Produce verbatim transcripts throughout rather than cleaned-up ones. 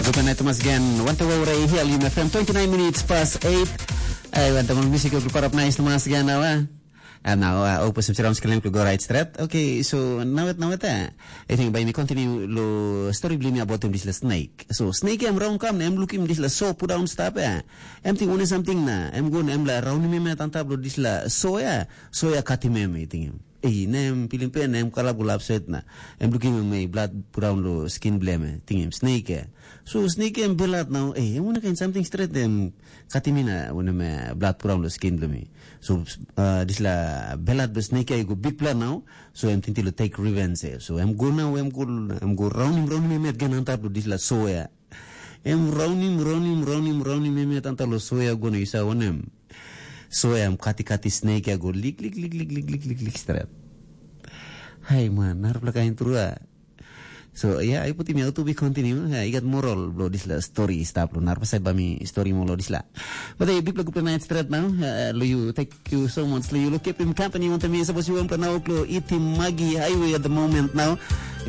Good night, Thomas, again. Wante wau rei hial yum F M, twenty-nine minutes past eight. Ai, wante mo musik ko parap nice, Thomas, again, now, eh? And now, uh, opus of Jerome Skelem ko go right straight. Okay, so now it, now it, eh? I think by me continue lo story bli mi about him this la snake. So snake em round kam, em look him this la so put down stop, eh? Em think one something na, em go em la round him em antap lo this la so, eh? So ya cut him em, I think him. Ei, na em pilim pen, na em kalap go lap set na. Em lukim em ei blood brown lo skin blem, eh, tingim snake, eh. So snake em belat nau, ei, em wana kain something stret em katim ina, wana me blood brown lo skin blem. So, uh, disla belat be snake ai go big blood nau, so em tinti lo take revenge, eh. So em go nau, em go, em go raunim, raunim em yet gen antap lo disla so, eh. Em raunim, raunim, raunim, raunim em yet antap lo so, eh, go na isa wanem. So em kati kati snake ya go lik lik lik lik lik lik lik lik stret. Hai man, narapela kain trua. So yeah, I put him out to be continue. Yeah, I got moral blo disla story stap lo narapela side ba mi story mo lo disla. But hey, big good night stret now. Uh, lo you, thank you so much. Lo you lo keep him company on to me. Suppose you want to now lo eat him Maggie Highway at the moment now.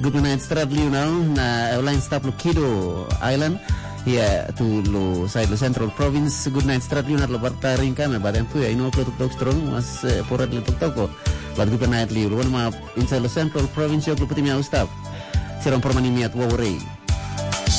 Good night stret lo you now. Na line stap lo Kido Island. Yeah, to lo side lo Central Province. Good night stret lo you not lo barta ring kame, but em tu ya, you know, lo tok strong mas uh, porat lo tok toko. But good night lo you. Lo one ma inside lo Central Province yo lo putim ya stap. Sirong permani miat wawari.